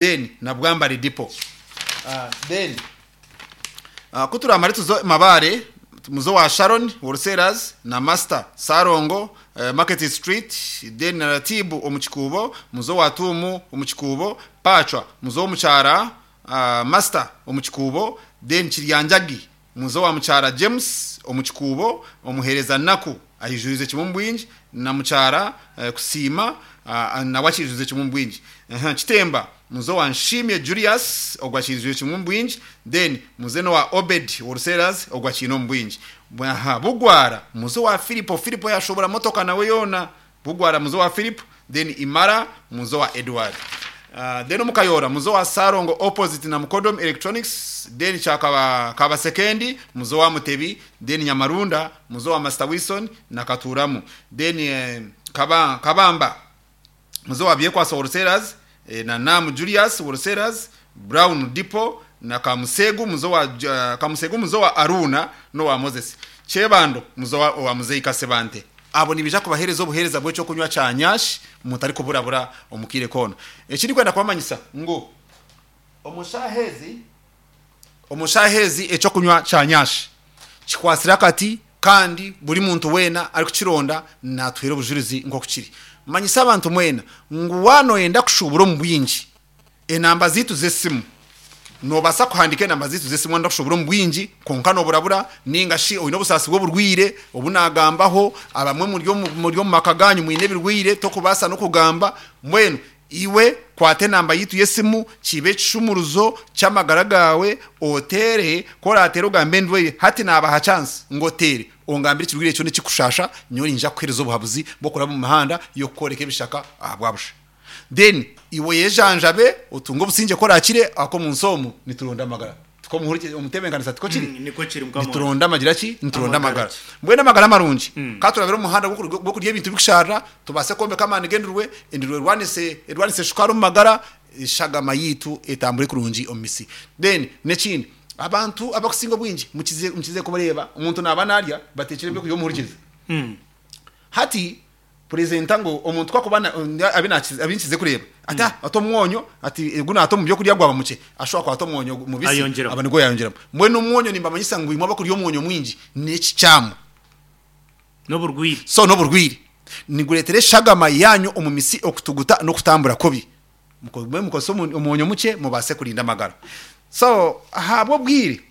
Then na Bwambare Depot. Then ku turamare tuze Mabaare muze owa Sharon Wholesalers na Master Sarongo Market Street then na Ratibu omu Kikuubo muze owa Tuumu omu Kikuubo, Pacwa muze owomukyara Master omu Kikuubo then Kiryanjagi Muze owa mukyara James omu Kikuubo, omuheereza Naku aijurize kimwe omu bwingi, na mukyara Kusiima nawe akiijurize kimwe omu bwingi. Kitemba, muze owa Nshimye Julius, ogwo akiijurize kimwe omu bwingi, then muze n'owa Obed Wholesalers, ogwo akiine omu bwingi. Bugwara, muze owa Philipo, Philipo yashuubura motoka nawe yoona. Bugwara muze owa Philip, then Imara muze owa Edward. Then omu Kayoora muze owa Sarongo opposite na Mukodom Electronics, then kya Kabasekendi muze owa Mutebi, then Nyamarunda muze owa Master Wilson na Katuramu. Then Kabamba muze owa Byekwaso Wholesalers na Namu Julius Wholesalers, Brown Depot na Kamusegu muze owa Kamusegu muze owa Aruna n'owa Moses. Kyebando muze owa Muzeyi Kasebante. Abo nibaija kubaheereza obuheereza bw'eky'okunywa kya nyash mutarikuburabura omu kaire koona. Eki ndikwenda kubamanyisa ngu omu shaaha ezi, omu shaaha ezi eky'okunywa kya nyash kikwatsire akati kandi buri muntu weena arikukironda naatuheera obujurizi nk'oku kiri. Manyisa abantu mwena ngu waaba nooyenda kushuubura omu bwingi, Enamba zaitu z'esimu. Noobaasa kuhandiika enamba zaitu z'esimu waaba nooshobora omu bwingi kwonka nooburabura nainga shi oine obusaasi bw'oburwaire obu naagambaho. Abamwe muri omu muri omu maka gaanyu mwine ebirwaire torikubaasa n'okugamba. Mbwenu iwe kwata enamba yaitu y'esimu kibe ekishumuruzo ky'amagara gaawe oteere, ku oraateere ogambe endwaire. Hati naabaha chance ngu oteere ongambire ekirwaire kyona ekirikukushaasha, nyowe niinyija kukuheereza obuhabuzi bw'okuraba omu mihanda y'okukworeka ebishaka ahabwa busha. Then iwe oyejanjabe otunge obusingye ku orakire ahakuba omunsi omu nituronda amagara. Tikwo muhurikye omutebenkanisa tikwo kiri? Nikwo kiri mukama wange. Nituronda amagira ki? Nituronda Amagara. amagara. Mbwenu amagara marungi ka turabire omu muhanda gw'okurya ebintu birikusharira tubaase kwombeka amaani g'endurwe, endurwe erwanise erwanise shukaari omu magara, eshagama yaitu etambure kurungi omu misi. Then n'ekindi abantu abakusinga obwingi mukize mukize kubareeba omuntu naaba narya bateekire ebyokurya omuhurikize. Hati Purezenta ngu omuntu ku akuba abu nkize kureeba ati ah ata omwonyo ati ogu naata omu byokurya gwaba mukye ashuba akwata omwonyo mubisi Ayongyeramu. aba nigwo yayongyeramu. Mbwenu omwonyo nimbamanyisa ngu imwe abakurya omwonyo mwingi n'ekikyamu. N'oburwaire. So n'oburwaire. Nigureetera eshagama yaanyu omu mitsi okutuguta n'okutambura kubi. Mugume mukozese omwonyo mukye mubaase kurinda amagara. So ahabw'obwire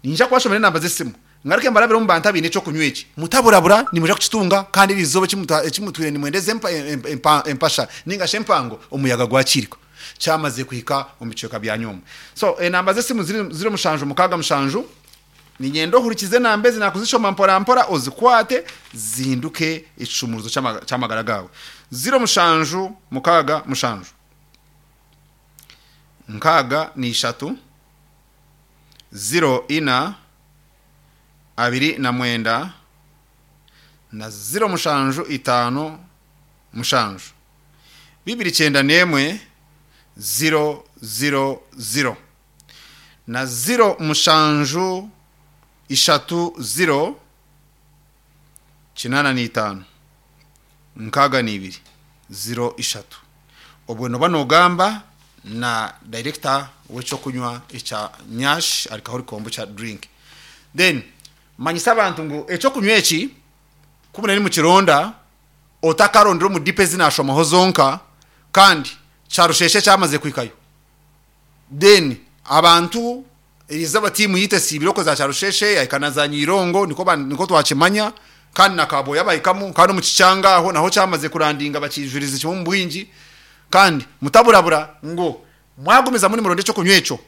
niinyija kubashomera enamba z'esimu ngaruke mbarabire omu bantu abaine eky'okunywa eki. Mutaburabura nimwija kukitunga kandi eri izooba eki mutwire nimwenda ezi empasha ninga shi empango omuyaga gwakiirika kyamazire kuhika omu bicweka byanyu omwo. So enamba z'esimu ziri 767 Niinyenda ohurikize enamba ezi naakuzishoma mporampora ozikwate zihinduke ekishumuruzo ky'amagara gaawe. Ziro mushanju mukaaga mushanju, nkaaga na ishatu, ziro ina, 29 na ziro mushanju itaano mushanju, 291, ziro ziro ziro. Na ziro mushanju ishatu ziro 85 62 ziro ishatu. Obwe noba nogamba na director w'ekyokunywa ekya Nyash Alcoholic Kombucha Drink. Then manyisa abantu ngu ekyokunywa eki ku muri nimukironda otakarondera omu dipo ezi nashomaho zonka kandi kyarusheshe kyamaze kuhikayo. Then abantu erizooba tiimu yaitu esiibire okwo za Kyarusheshe yahika na za Nyeirongo nikwo nikwo twakimanya kandi na Kaboya bahikamu kandi omu Kikyanga aho naho kyamaze kurandinga bakiijurize kimwe omu bwingi kandi mutaburabura ngu mwagumizamu nimuronda eky'okunywa ekyo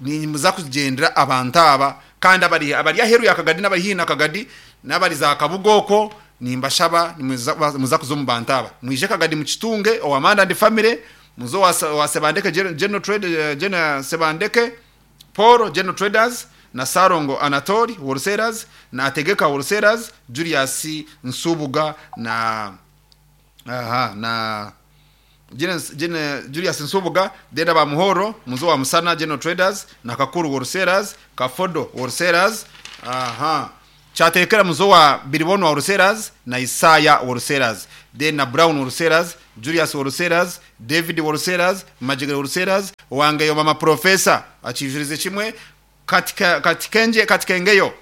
nimuza kugyendera abantu aba kandi abari abari aheeru ya Kagadi n'abari haihi na Kagadi n'abari za Kabuga okwo nimbashaba nimuza kuza omu bantu aba mwije Kagadi mukitunge owa Manda and Family Muze owa Sebandeke General Trade, General Sebandeke Paul General Traders na Ssalongo Anatoli Wholesalers na Ategeka Wholesalers Julius Nsubuga na aha na Julius Nsubuga then aba Muhoro muze owa Musana General Traders na Kakuru Wholesalers Kafodo Wholesalers aha Kyateekera muze owa Biribonwa Wholesalers na Isaya Wholesalers. Then na Brown Wholesalers, Julius Wholesalers, David Wholesalers, Majegere Wholesalers, Wangeyo Mama Professor akiijurize kimwe, Katikengye Katikengeyo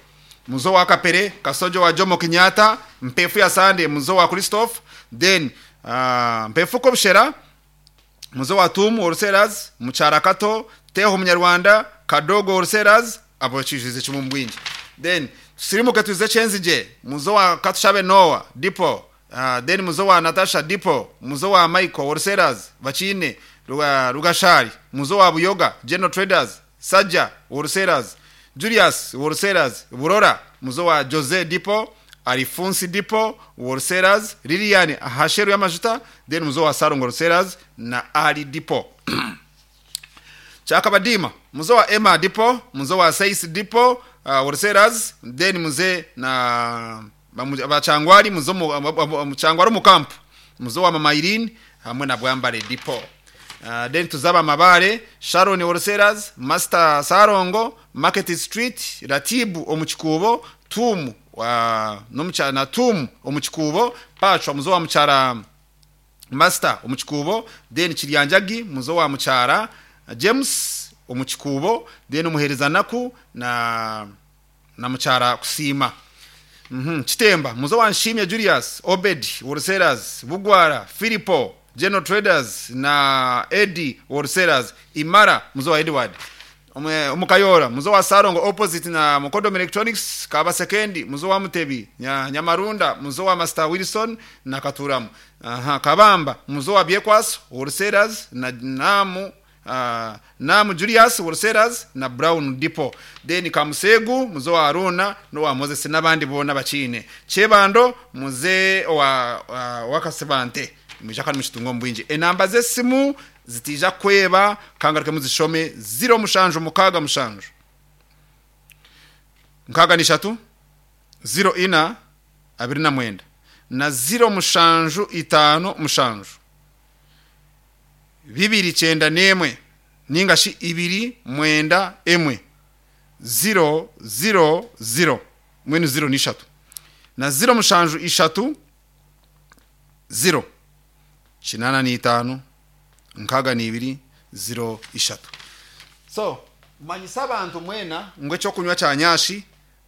muzo wa Kapere, Kasojo wa Jomo Kenyatta, Mpefu ya Sande muzo wa Christophe, then Mpefu Kobushera muzo wa Tumu Wholesalers, Mukyara Kato, Teho Munyarwanda, Kadogo Wholesalers, abo bakiijurize kimwe omu bwingi. Then tusirimuke tuze Kyenzigye muzo wa Katushabe Noah Depot, then muzo wa Natasha Depot, muzo wa Michael Wholesalers, Bakiine, Rugashari, muzo wa Buyoga General Traders, Sajja Wholesalers, Julius Wholesalers, Burora, muzo wa Jose Depot, Alifunsi Depot, Wholesalers, Lilian Hasheru y'amajuta, then muzo wa Sarongo Wholesalers na Ali Depot. Chakabadima, muzo wa Emma Depot, muzo wa Seis Depot, Wholesalers, then muze na bachangwari muzo muchangwari mukampu, muzo wa Mama Irene hamwe na Bwambare Depot. Then tuzaba Mabare, Sharon Wholesalers, Master Sarongo, Market Street, Ratibu omuchikubo, Tumu wa nomucha na Tumu omuchikubo, Pachwa muzo wa muchara Master omuchikubo, then Kiryanjagi muzo wa muchara James omuchikubo, then omuhereza naku na muchara kusima. Chitemba muzo wa Nshimye Julius, Obed Wholesalers, Bugwara, Filipo General Traders na Eddie Wholesalers, Imara muzo wa Edward. Omukayora muzo wa Sarongo opposite na Mukodom Electronics, Kaba Sekendi muzo wa Mutebi, Nyamarunda muzo wa Master Wilson na Katuramu. Kabamba muzo wa Byekwaso Wholesalers na Namu Julius Wholesalers na Brown Depot. Then Kamusegu muzo wa Aruna no wa Moses n'abandi bona bakine. Chebando muze wa Wakasebante. Mwija kandi mushitungo mbwingi. Enamba z'esimu zitija kweba kangaruke muzishome 0 mushanju mukaga mushanju. Nkaga ni shatu 0 ina 29 na 0 mushanju 5 mushanju. 291 ningashi 291 0 0 0 mwenu 0 ni shatu na 0 mushanju 3 0 85 nkaga ni 2 0 3. So manyisa abantu mwena ngo cyo kunywa cya nyashi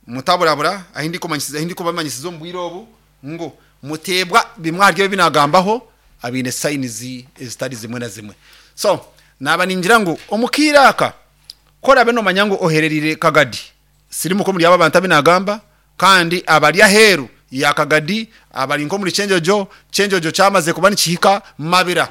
mutaburabura ahindi kumanyisiza ahindi kubamanyisiza mbwiro obu ngo mutebwa bimwaryo binagambaho abine signs ezitari zimwe na zimwe. So naba ningira ngo omukiraka kora beno manyango ohererire kagadi sirimu ko muri aba bantu binagamba kandi abali aheru ya kagadi abali nko muri chenjojo chenjojo cyamaze kuba nikihika mabira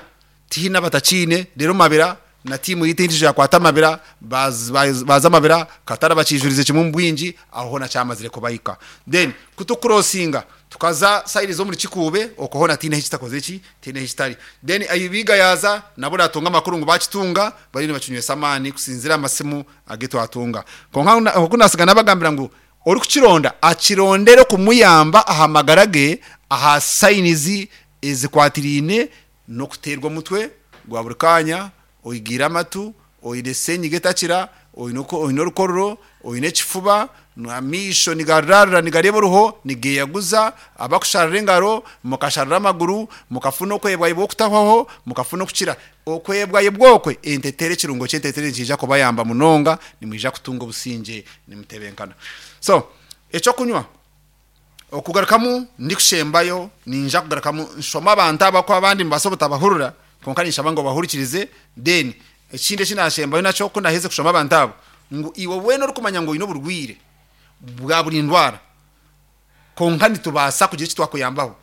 tihina batachine rero mabira na timu yitindije yakwata mabira baza mabira katara bakijurize kimwe mbwinji aho na cyamazire kubayika then kutucrossinga tukaza side zo muri kikube okohona tine hitakoze ki tine hitari then ayibiga yaza nabo ratunga makuru ngo bakitunga bari bakinywe samani kusinzira amasimu ageto atunga konka kunasiga nabagambira ngo ori kukironda akirondere kumuyamba ahamagarage aha signs ezikwatirine no kuterwa mutwe gwa buri kanya oyigira amatu oyine senyiga etakira oyine orukororo oyine ekifuba amisho nigararara nigareba oruho nigeyaguza abakusharira engaro mukasharira amaguru mukafuna okwebwaibwa okutahwaho mukafuna okukira okwebwaibwa okwe entetere ekirungo ky'entetere nikiija kubayamba munonga nimwija kutunga obusinge nimutebenkana. So ekyokunywa okugarukamu ndikushembayo ninja kugarukamu nshoma abantu abako abandi mubasa obutabahurura konka nishaba ngo bahurikirize then ekindi ekinashembayo nakyo ko naheze kushoma abantu abo ngu iwe wena orikumanya ngo oyine oburwire bwa buri ndwara konka nitubaasa kugira eki twakuyambaho.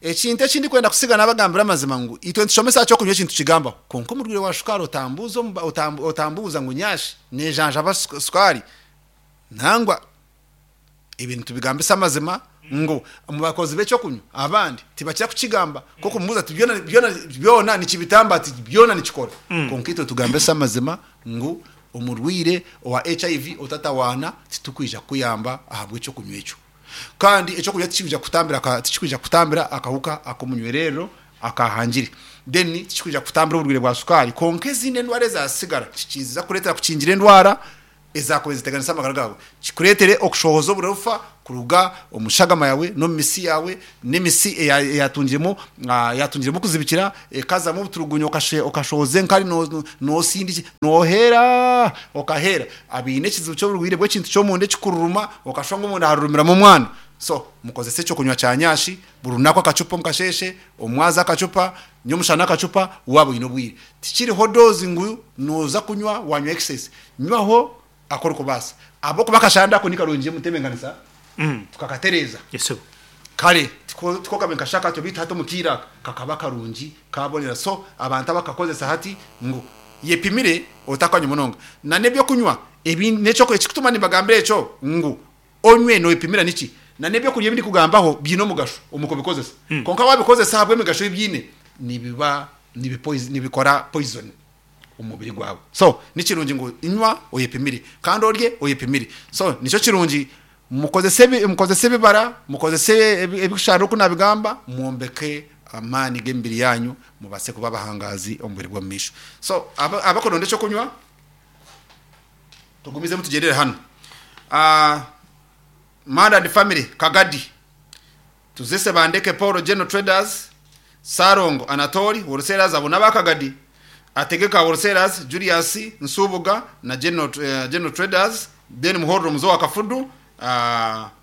Ekintu ekindi kwenda kusiga nabagambira amazima ngu itwe nitushomesa kyokunywa ekintu kigambaho konka omurwire wa shukaari otambuuza otambuuza ngu nyashi nejanjaba sukari nangwa ebintu tubigambisa amazima ngo mubakozi b'ekyokunywa abandi tibakira kukigamba ko kumubuza ati byona byona byona nikibitamba ati byona nikikora konka itwe tugambisa amazima ngu omurwire owa HIV otatawana titukwija kuyamba ahabwa ekyokunywa ekyo kandi ekyokunywa tikikwija kutambira tikikwija kutambira akahuka akomunywerero akahangire then tikikwija kutambira oburwire bwa sukari konka ezindi endwara ezasigara kikiza kuretera kukingira endwara Ezaakubaire niziteganisa amagara gaawe, kikureetere okushohoza oburofa kuruga omu shagama yaawe n'omu mitsi yaawe, n'emitsi eyaatungiremu eyaatungiremu okuzibikira ekazamu obuturugunyo okashohoza enkari noosindikye nooheera okaheera. Abaine ekizibu ky'oburwaire bw'ekintu ky'omunda ekikururuma okashusha ngu omunda harurumiramu omwana. So mukozese eky'okunywa kya nyashi buri runaku akacupa omu kasheeshe, omwazi akacupa, nyomushana akacupa waaba oine obwire. Tikiriho doozi ngu nooza kunywa waanywa excess. Nywaho aku orikubaasa. Ahabw'okuba akashanda ako ni karungi omu ntebeekanisa tukakatereeza. Kare tiko kabaire nikashusha katyo beitu hati omu kaire aka kakaba karungi kaabonera. So abantu abakakozesa hati ngu yepimire otakanywa munonga. Na n'eby'okunywa ebindi n'ekyo ekikutuma nimbagambira ekyo ngu onywe noyepimira niki? Na n'ebyokurya ebi ndikugambaho biine omugasho omu kubikozesa. Kwonka wabikozesa ahabw'emigasho ei biine nibiba nibikora poison omu mubiri gwawe. So ni kirungi ngu nywa oyepimire kandi orye oyepimire. So nikyo kirungi mukozese mukozese ebibara, mukozese ebikusharira oku nabigamba, mwombeke amaani g'emibiri yaanyu mubaase kuba abahangazi omu bwire bw'omu maisho. So abakuronda eky'okunywa Tugumizemu tugyendere hanu. Manda and family Kagadi, Tuzese Bandeke Paul General Traders, Ssalongo Anatoli Wholesalers abo n'aba Kagadi, Ategeka Wholesalers, Julius Nsubuga na General, General Traders, then Muhorro Muzo wa Kafudu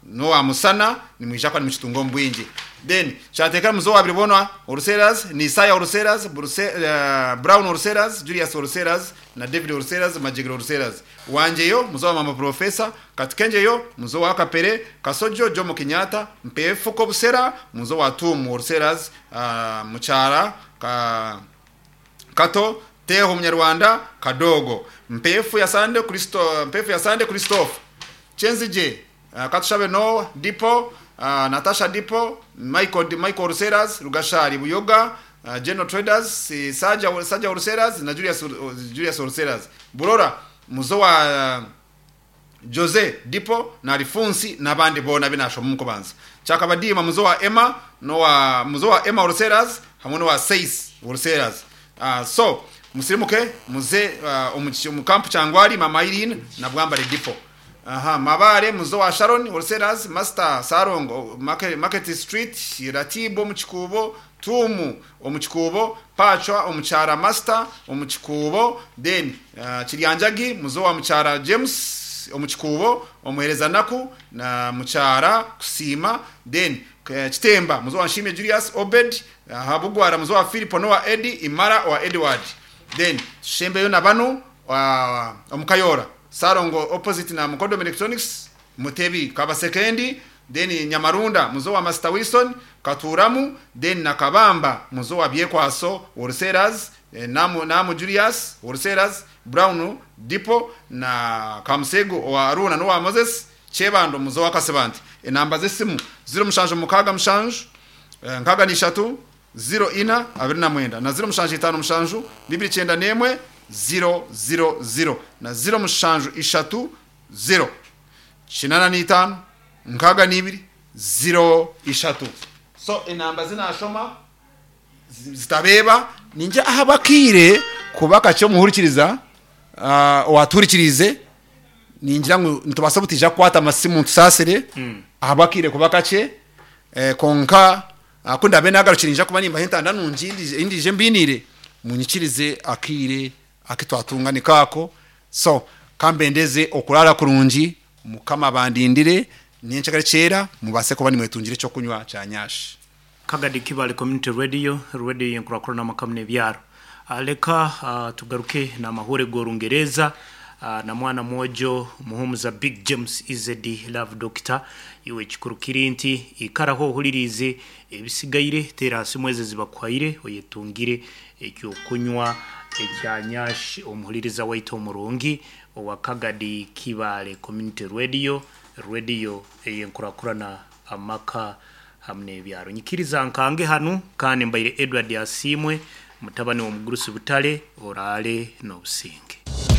n'owa Musana nimwija kuba nimukitunga omu bwingi. Then Kyateeka Muzo wa Biribonwa Wholesalers, ni Isaya Wholesalers, Buruse, Brown Wholesalers, Julius Wholesalers na David Wholesalers, Majegere Wholesalers. Wangyeyo Muzo wa Mama Professor, Katukengyeyo Muzo wa Kapere, Kasojo Jomo Kenyatta, Mpeefuko Busera Muzo wa Tuumu Wholesalers, Mukyara Ka Kato, Teeho Omunyarwanda, Kadoogo, Mpeefu ya Sande, Kristo, Mpeefu ya Sande Christophe, Kyenzigye, Katushabe Noah, Dipo, Natasha Dipo, Michael, Michael Wholesalers, Rugashari Buyoga, General Traders, Saja, Saja Wholesalers na Julius, Julius Wholesalers. Burora, Muzo wa Jose Dipo na Alifunsi n'abandi boona abu naashoma omu kubanza. Kyakabadiima muzo wa Emma n'owa muzo wa Emma Wholesalers hamwe n'owa Seis Wholesalers. So musirimuke muze omu kampu Kyangwali, Mama Irene na Bwambare Dipo. Aha, Mabaare muzo wa Sharon Wholesalers, Master Sarongo, Market Street, Ratibu omu Kikuubo, Tuumu omu Kikuubo, Pacwa omu Kyara Master omu Kikuubo, then Kiryanjagi muzo wa Mukyara James omu Kikuubo, Omuhereza Naku na Mukyara Kusiima, then Kitemba muzo wa Nshimye Julius, Obed aha Bugwara muzo wa Philip n'owa Eddy, Imara owa Edward, then tushembeyo na banu omu Kayoora Salongo opposite na Mukodomi Electronics, Mutebi Kabasekendi, Then Nyamarunda muzo wa Master Wilson, Katuuramu, then na Kabamba muzo wa Byekwaso Wholesalers, Namu, Namu Julius Wholesalers, Brown Depot na Kamusego owa Aruuna n'owa Moses Kyebando muzo wa Kasibante. Enamba z'esimu, 0767 63 04 29 na 0757 291 000 na 07 30 85 62 03. So enamba zi naashoma zitabeeba. Ningira ahabw'akaire kuba kakye omuhurikiriza owaatuhurikiriize, ningira ngu nitubaasa obutaija kukwata amasimu tusaasire ahabw'akaire kuba kakye. Kwonka ku ndaabe naagarukire niinyija kuba nimbaha entanda nungi ei ndiije mbainiire, munyikirize akaire Aku twatunga niko ako. So ka mbendeze okuraara kurungi, Mukama abandindire nyencakare kyera mubaase kuba nimwetungira eky'okunywa kya nyashi. Kagadi Kibale Community Radio, radio y'enkurakurana amaka n'ebyaro. Leka tugaruke n'amahuure g'Orungereeza na mwana mwojo Muhumuza Big James EZD Love Doctor. Iwe ekikuru kiri nti ikaraho ohuririize ebisigaire, teera aha simu ezi ezibakuhaire oyetungire Eky'okunywa ekya Nyash omuhuririza waitu omurungi owa Kagadi Kibaale Community Radio, rediyo ey'enkurakurana amaka hamu n'ebyaro. Nyikiriza nkange hanu kandi mbaire Edward Asiimwe, mutabani w'omugurusi Butare, oraale n'obusinge.